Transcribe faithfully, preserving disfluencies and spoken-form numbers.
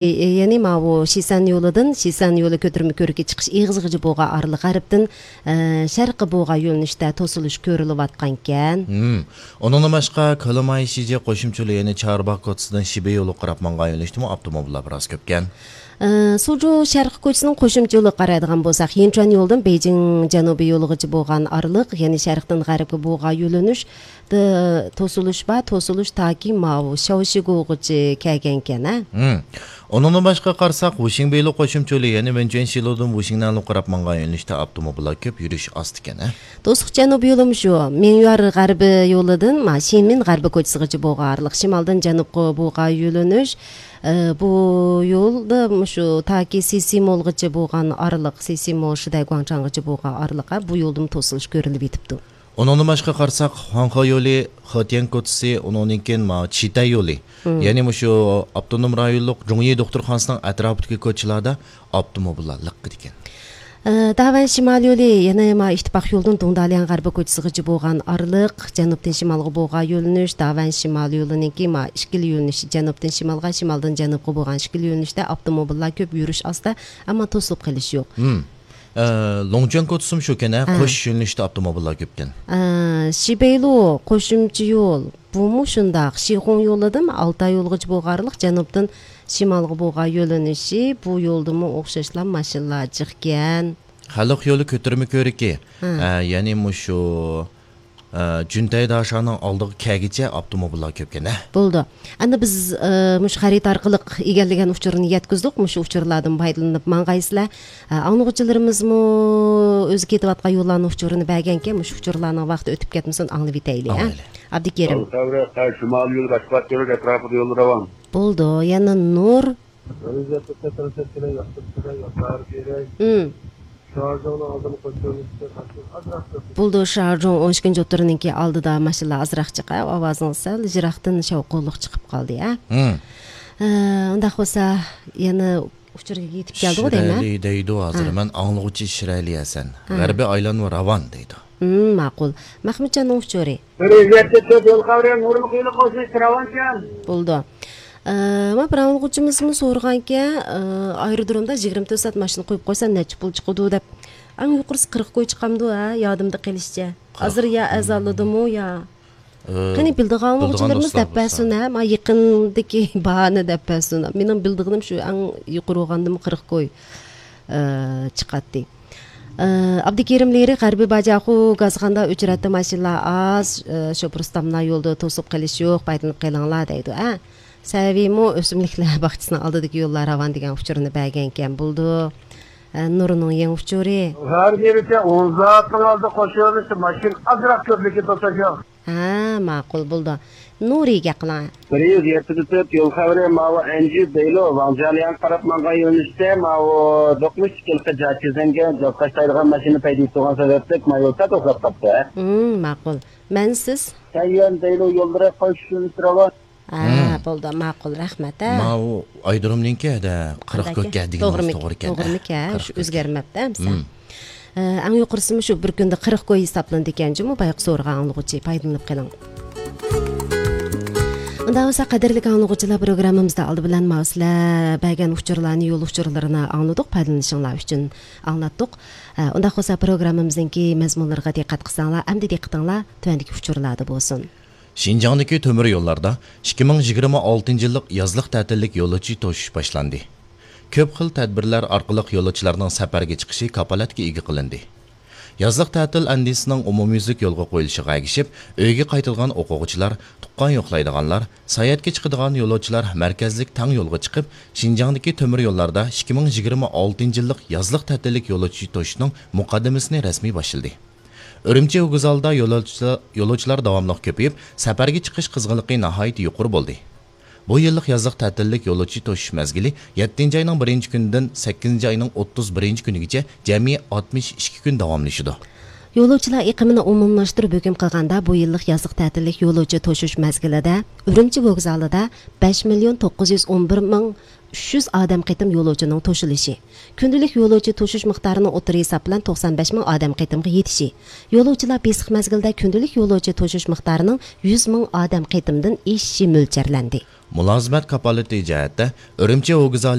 يەنى ماۋۇ شىسەن يولىدىن، شىسەن يولى كۆتۈرمە كۆرۈكى چىقىش ئېغىزىغىچە بولغان ئارىلىق غەربتىن، ئە، شەرققە بولغان يۆنىلىشتە توسۇلۇش كۆرۈلۈۋاتقانىكەن. ھىم. ئۇنىڭدىن باشقا، كولىماي شىجى قوشۇمچە يولى، يەنى چارباغ كوچىسىدىن شىبې يولىغا قاراپ ماڭغان يۆنىلىشتىمۇ ئاپتوموبىللار بىراز كۆپكەن. ئە، سۇجۇ شەرقىي كوچىسىنىڭ قوشۇمچە يولىغا قارايدىغان بولساق، يىنچۇەن يولىدىن بېيجىڭ جەنۇبىي يولىغىچە بولغان ئارىلىق، يەنى شەرقتىن غەربكە بولغان يۆنىلىش، توسۇلۇش بار، توسۇلۇش تاكى ماۋۇ شاۋشىگوغىچە كەلگەنكەن، ھە؟ ھىم. ئۇنىڭدىن باشقا قارىساق، ۋۇشىڭبېيلۇ قوشۇمچە يولى، يەنى ۋېنچۈەنشىلۇدىن ۋۇشىڭنەنلۇغا قاراپ ماڭغان يۆنىلىشتە ئاپتوموبىللار كۆپ، يۈرۈش ئاز ئىكەن، ھە؟ توسۇق جەنۇبىي يولىمۇ شۇ. مىڭيۈەر غەربىي يولىدىن، ما، شىمىن غەربىي كوچىسىغىچە بولغان ئارىلىق، شىمالدىن جەنۇبقا بولغان يۆنىلىش. ئە، بۇ يولدا مۇشۇ تاكى سىسىمولغىچە بولغان ئارىلىق، سىسىمول، شىدە، گۇاڭچاڭغىچە بولغان ئارىلىق، ھە، بۇ يولدىمۇ توسۇلۇش كۆرۈلۈپ يېتىپتۇ. ئۇنىڭدىن باشقا قارىساق، خۇاڭخې يولى، خېتيەن كوچىسى، ئۇنىڭدىن كېيىن ماۋۇ چىتەي يولى، ھىم. يەنى مۇشۇ ئاپتونوم رايونلۇق جۇڭيى دوختۇرخانىسىنىڭ ئەتراپىدىكى كوچىلاردا ئاپتوموبىللار لىققىدىكەن. ئە، داۋەن شىمال يولى، يەنە ما ئىتتىپاق يولىدىن دۇڭدالياڭ غەربىي كوچىسىغىچە بولغان ئارىلىق، جەنۇبتىن شىمالغا بولغان يۆنىلىش، داۋەن شىمال يولىنىڭكى ما ئىككىلا يۆنىلىشى، جەنۇبتىن شىمالغا، شىمالدىن جەنۇبقا بولغان ئىككىلا يۆنىلىشتە ئاپتوموبىللار كۆپ، يۈرۈش ئاستا، ئەمما توسۇلۇپ قېلىش يوق. ھىم. ئە، لوڭجۈەن كوچىسىمۇ شۇكەن، ھە؟ ھە. قوش يۆنىلىشتە ئاپتوموبىللار كۆپكەن. ئە، شىبېيلۇ قوشۇمچە يول، بۇمۇ شۇنداق. شىخۇڭ يولىدىن ئالتاي يولىغىچە بولغان ئارىلىق، جەنۇبتىن شىمالغا بولغان يۆنىلىشى، بۇ يولدىمۇ ئوخشاشلا ماشىنىلار جىقكەن. خەلق يولى كۆتۈرمە كۆرۈكى، ھە. ئە، يەنى مۇشۇ، ئە، جۈنتەي داشانىڭ ئالدىغا كەلگىچە ئاپتوموبىللار كۆپكەن، ھە. بولدى. ئەمدى بىز، ئە، مۇشۇ خەرىدە ئارقىلىق ئىگىلىگەن ئۇچۇرنى يەتكۈزدۇق. مۇشۇ ئۇچۇرلاردىن پايدىلىنىپ ماڭغايسىلەر. ئە، ئاڭلىغۇچىلىرىمىزمۇ ئۆزى كېتىۋاتقان يوللارنىڭ ئۇچۇرىنى بەرگەنكەن، مۇشۇ ئۇچۇرلارنىڭ ۋاقتى ئۆتۈپ كەتمىسۇن، ئاڭلىۋېتەيلى، ھە؟ ئاڭلايلى. ئابدۇكېرىم. شىمال يولى باشقا ئەتراپىدا يوللىرى بار. بولدى. يەنە نۇر. ھىم. شارجۇڭنىڭ ئالدىدا قوشۇلۇشى. بولدى، شارجۇڭ ئون ئىككىنچى ئوتتۇرىنىڭكى ئالدىدا ماشىنىلار ئازراق چىقا، ئاۋازىڭىز سەل يىراقتىن شاۋقۇنلۇق چىقىپ قالدى، ھە؟ ھىم. ئە، ئۇنداق بولسا، يەنە ئۇچۇرغا يېتىپ كەلدىغۇ دەيمەن. شىرەلى دەيدۇ ھازىر. ھە. مەن ئاڭلىغۇچى شىرەلى ھەسەن. ھە. غەربىي ئايلانما راۋان دەيدۇ. ھىم، ماقۇل. مەخمۇتجاننىڭ ئۇچۇرى. بىر يۈز يەتتە تۆت يول خەۋىرى نۇرلۇق يولى قوشۇلۇشى راۋانكەن. بولدى. ئە، ما بىر ئاڭلىغۇچىمىزمۇ سورىغانكەن، ئە، ئايرودرومدا يىگىرمە تۆت سائەت ماشىنا قويۇپ قويسا نەچچە پۇل چىقىدۇ دەپ. ئەڭ يۇقىرىسى قىرىق كوي چىقامدۇ، ھە؟ يادىمدا قېلىشىچە. ھازىر يا ئەزالىدىمۇ يا. ئە، قېنى بىلىدىغان ئاڭلىغۇچىلىرىمىز دەپ بەرسۇن، ھە؟ ما يېقىندىكى باھانى دەپ بەرسۇن. مېنىڭ بىلىدىغىنىم شۇ، ئەڭ يۇقىرى بولغاندىمۇ قىرىق كوي، ئە، چىقاتتى. ئە، ئابدۇكېرىم لېرى غەربىي باجاخۇ گازخاندا ئۆچرەتتە ماشىنىلار ئاز، ئە، شوپۇر ئۇستاملار يولدا توسۇپ قېلىش يوق، پايدىلىنىپ قېلىڭلار دەيدۇ، ھە؟ سەۋىيمۇ ئۆسۈملۈكلەر باغچىسىنىڭ ئالدىدىكى يوللار راۋان دېگەن ئۇچۇرنى بەرگەنكەن بولدى. ئە، نۇرنىڭ يېڭى ئۇچۇرى. ھەر يېرىچە ئون زاتنىڭ ئالدى قوشۇلۇشى ماشىنا ئازراق كۆپلۈكى توساش يوق. ھە، ماقۇل بولدى. نۇرى گەپ قىلىڭ. بىر يۈز يەتتە تۆت يول خەۋىرى ماۋۇ ئەنجۈ بەيلو ۋاڭجيالياڭغا قاراپ ماڭغان يۆنىلىشتە ماۋۇ دوقمۇش كىلقا جاچىزەنگە جازقاش دەيدىغان ماشىنا پەيدا تۇرغان سەۋەبلىك ما يول سەل توختاپ قاپتۇ، ھە؟ ھىم، ماقۇل. مەن سىز؟ سەنيۈەن بەيلو يوللىرى قوشۇلۇشى راۋان. ھە، ھىم. بولدى، ماقۇل، رەھمەت، ھە. ماۋۇ ئايرودرومنىڭكى ھەدە قىرىق كوي دېگىنىڭىز توغرىمىكەن؟ توغرا ئىكەن. توغرىمىكەن؟ شۇ ئۆزگەرمەپتۇ ئەمسە. ھىم. ئە، ئەڭ يۇقىرىسىمۇ شۇ بىر كۈندە قىرىق كوي ھېسابلىنىدىكەن جۇمۇ، بايىقى سورىغان ئاڭلىغۇچى، پايدىلىنىپ قېلىڭ. ئۇنداق بولسا، قەدىرلىك ئاڭلىغۇچىلار، پروگراممىمىزدا ئالدى بىلەن ماۋۇ سىلەر بەرگەن ئۇچۇرلارنى، يول ئۇچۇرلىرىنى ئاڭلىدۇق، پايدىلىنىشىڭلار ئۈچۈن ئاڭلاتتۇق. ئە، ئۇنداق بولسا، پروگراممىمىزنىڭكى مەزمۇنلىرىغا دىققەت قىلساڭلار، ئەمدى دىققىتىڭلار تۆۋەندىكى ئۇچۇرلاردا بولسۇن. شىنجاڭدىكى تۆمۈر يوللاردا ئىككى مىڭ يىگىرمە ئالتىنچى يىللىق يازلىق تەتىللىك يولۇچى توشۇش باشلاندى. كۆپ خىل تەدبىرلەر ئارقىلىق يولۇچىلارنىڭ سەپەرگە چىقىشى كاپالەتكە ئىگە قىلىندى. يازلىق تەتىل ئەندىزىسىنىڭ ئومۇميۈزلۈك يولغا قويۇلۇشىغا ئەگىشىپ، ئۆيىگە قايتىدىغان ئوقۇغۇچىلار، تۇغقان يوقلايدىغانلار، ساياھەتكە چىقىدىغان يولۇچىلار مەركەزلىك تەڭ يولغا چىقىپ، شىنجاڭدىكى تۆمۈر يوللاردا ئىككى مىڭ يىگىرمە ئالتىنچى يىللىق يازلىق تەتىللىك يولۇچى توشۇشنىڭ مۇقەددىمىسىنى رەسمىي باشلىدى. ئۈرۈمچى ۋوگزالىدا يولۇچىلار، يولۇچىلار داۋاملىق كۆپىيىپ، سەپەرگە چىقىش قىزغىنلىقى ناھايىتى يۇقىرى بولدى. بۇ يىللىق يازلىق تەتىللىك يولۇچى توشۇش مەزگىلى يەتتىنچى ئاينىڭ بىرىنچى كۈنىدىن سەككىزىنچى ئاينىڭ ئوتتۇز بىرىنچى كۈنىگىچە جەمئىي ئاتمىش ئىككى كۈن داۋاملىشىدۇ. يولۇچىلار ئېقىمىنى ئومۇملاشتۇرۇپ ھۆكۈم قىلغاندا، بۇ يىللىق يازلىق تەتىللىك يولۇچى توشۇش مەزگىلىدە ئۈرۈمچى ۋوگزالىدا بەش مىليون توققۇز يۈز ئون بىر مىڭ ئۈچ يۈز ئادەم قېتىم يولۇچىنىڭ توشۇلۇشى، كۈندىلىك يولۇچى توشۇش مىقدارىنىڭ ئوتتۇرا ھېساب بىلەن توقسان بەش مىڭ ئادەم قېتىمغا يېتىشى، يولۇچىلار بېسىق مەزگىلدە كۈندىلىك يولۇچى توشۇش مىقدارىنىڭ يۈز مىڭ ئادەم قېتىمدىن ئېشىشى مۆلچەرلەندى. مۇلازىمەت كاپالىتى جەھەتتە ئۈرۈمچى ھوگزا